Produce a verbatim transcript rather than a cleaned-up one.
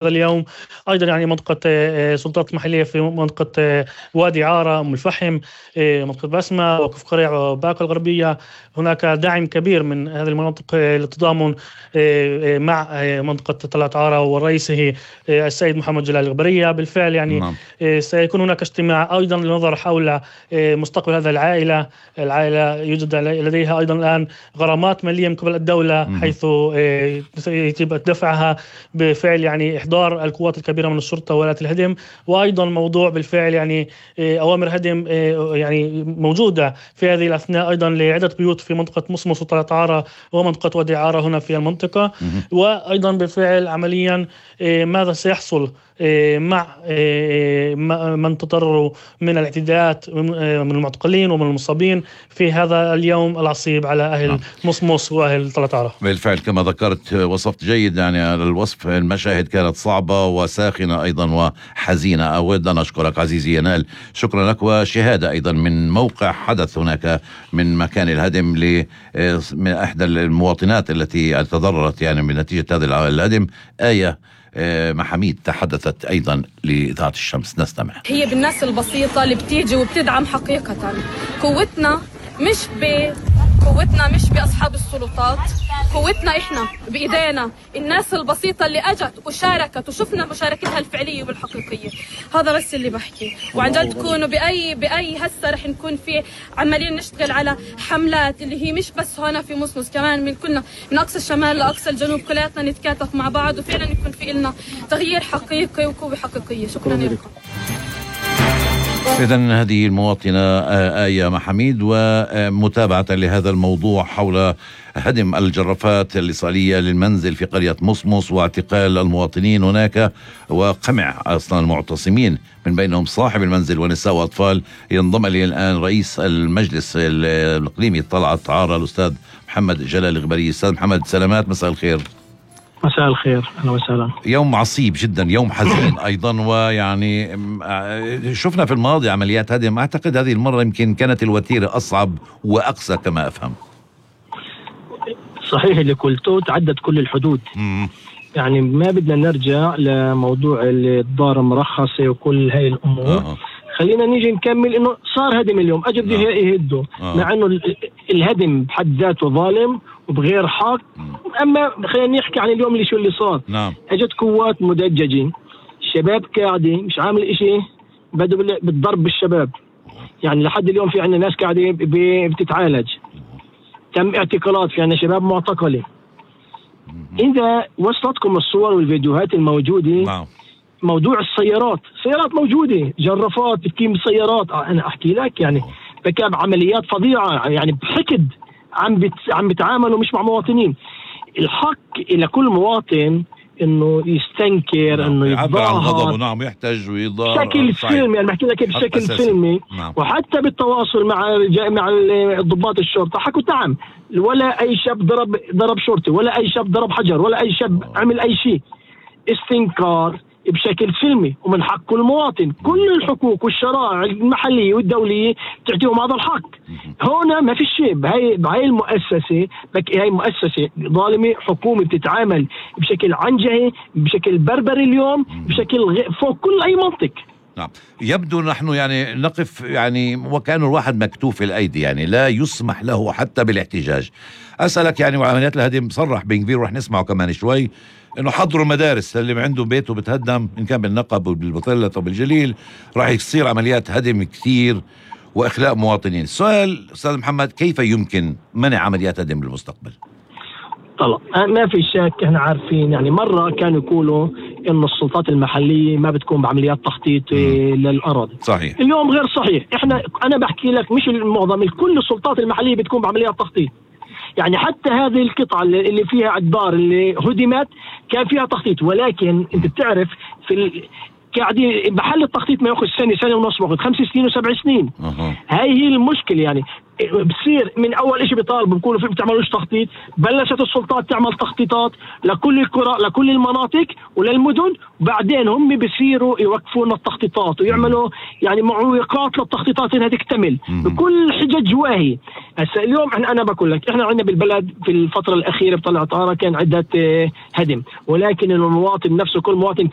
اليوم. أيضا يعني منطقة سلطات محلية في منطقة وادي عارة، أم الفحم، منطقة بسمة، وكف قريع وباقة الغربية. هناك دعم كبير من هذه المناطق للتضامن مع منطقة طلعت عارة ورئيسه السيد محمد جلال الغبرية. بالفعل يعني نعم. سيكون هناك اجتماع أيضا للنظر حول مستقبل هذا العائلة. العائلة يوجد لديها أيضا الآن غرامات مالية من قبل الدولة م- حيث يتم دفعها بفعل يعني إحضار القوات الكبيرة من الشرطة وآلات الهدم. وأيضا موضوع بالفعل يعني أوامر هدم يعني موجودة في هذه الأثناء أيضا لعدة بيوت في منطقة مصمص وطلعت عارة ومنطقة وادي عارة هنا في المنطقة. وأيضا بالفعل عمليا ماذا سيحصل مع من تضرروا من الاعتداءات من المعتقلين ومن المصابين في هذا اليوم العصيب على أهل مصمص وأهل طلعت عارة. بالفعل كما ذكرت وصفت جيد يعني على الوصف. المشاهد كانت صعبة وساخنة أيضا وحزينة. أود أن أشكرك عزيزي ينال، شكرا لك. وشهادة أيضا من موقع حدث هناك من مكان الهدم من إحدى المواطنات التي تضررت يعني من نتيجة هذا الهدم. آية محميد تحدثت أيضا لإذاعة الشمس، نستمع. هي بالناس البسيطة اللي بتيجي وبتدعم حقيقة. قوتنا مش ب قوتنا مش بأصحاب السلطات، قوتنا إحنا بإيدينا الناس البسيطة اللي أجت وشاركت وشفنا مشاركتها الفعلية والحقيقية. هذا بس اللي بحكي. وعن جد تكونوا بأي بأي هسه رح نكون في عمالين نشتغل على حملات اللي هي مش بس هنا في مصمص، كمان من كلنا من أقصى الشمال لأقصى الجنوب كلياتنا نتكاتف مع بعض وفعلا يكون في إلنا تغيير حقيقي وقوة حقيقية. شكرا لكم. إذن هذه المواطنة آية محميد، ومتابعة لهذا الموضوع حول هدم الجرافات الإصالية للمنزل في قرية مصمص واعتقال المواطنين هناك وقمع أصلا المعتصمين من بينهم صاحب المنزل ونساء وأطفال. ينضم لي الآن رئيس المجلس الإقليمي طلعت عارة الأستاذ محمد جلال الغبري. أستاذ محمد سلامات، مساء الخير. مساء الخير، أهلا وسهلا. يوم عصيب جدا، يوم حزين أيضا. ويعني شفنا في الماضي عمليات هدم، أعتقد هذه المرة يمكن كانت الوتيرة أصعب وأقسى كما أفهم. صحيح اللي قلته، تعدد كل الحدود. مم. يعني ما بدنا نرجع لموضوع الدار مرخصة وكل هاي الأمور. آه. خلينا نيجي نكمل إنه صار هدم اليوم، أجب دي يهدوا. آه. مع إنه الهدم بحد ذاته ظالم وبغير حق. أما خلينا نحكي عن اليوم اللي شو اللي صار. نعم. أجت قوات مدججين، الشباب قاعدين مش عامل إشي، بدوا بالضرب بالشباب. يعني لحد اليوم في عنا ناس قاعدين بتتعالج، تم اعتقالات، في عنا شباب معتقلة. إذا وصلتكم الصور والفيديوهات الموجودة. نعم. موضوع السيارات، سيارات موجودة، جرافات بتكيم سيارات. أنا أحكي لك يعني بكاب عمليات فظيعة، يعني بحقد عم بت... عم بتعاملوا مش مع مواطنين. الحق إلى كل مواطن إنه يستنكر، نعم. إنه يعبر عن غضبه، نعم، يحتج ويضار بشكل فيلمي. يعني بحكي لك بشكل فيلمي. نعم. وحتى بالتواصل مع مع ضباط الشرطة حكوا نعم، ولا أي شاب ضرب ضرب شرطي، ولا أي شاب ضرب حجر، ولا أي شاب عمل أي شيء. استنكار بشكل فيلمي، ومن حق كل مواطن. كل الحقوق والشرائع المحلية والدولية تعطيهم هذا الحق. هنا ما في شيء. بهاي بهاي المؤسسة، هاي مؤسسة ظالمة، حكومة بتتعامل بشكل عنجهي، بشكل بربري اليوم، بشكل غ... فوق كل أي منطق. نعم. يبدو نحن يعني نقف يعني وكأنه الواحد مكتوف الأيدي، يعني لا يسمح له حتى بالاحتجاج. أسألك يعني، وعمليات الهدم صرح بن كبير ورح نسمعه كمان شوي إنه حضروا المدارس اللي عنده بيته بتهدم، إن كان بالنقب وبالبطلة وبالجليل راح يصير عمليات هدم كثير وإخلاء مواطنين. السؤال أستاذ محمد، كيف يمكن منع عمليات هدم بالمستقبل؟ طلع ما في شك، احنا عارفين يعني مرة كانوا يقولوا إنه السلطات المحلية ما بتكون بعمليات تخطيط للأراضي. صحيح. اليوم غير صحيح. احنا أنا بحكي لك مش المعظم، كل السلطات المحلية بتكون بعمليات تخطيط. يعني حتى هذه القطعة اللي فيها الدار اللي هدمت كان فيها تخطيط، ولكن انت بتعرف في ال... قاعدين بحل التخطيط ما ياخذ سنه سنه ونص، باخذ خمس سنين وسبع سنين. أه. هاي هي المشكله يعني. بصير من اول شيء بيطالبوا بيقولوا في بتعملوش تخطيط، بلشت السلطات تعمل تخطيطات لكل القرى لكل المناطق وللمدن، وبعدين هم بيصيروا يوقفون التخطيطات ويعملوا يعني معوقات للتخطيطات انها تكتمل بكل حجج واهي. هسه اليوم احنا انا بقول لك احنا عندنا بالبلد في الفتره الاخيره بطلع طاره كان عده هدم، ولكن المواطن نفسه كل مواطن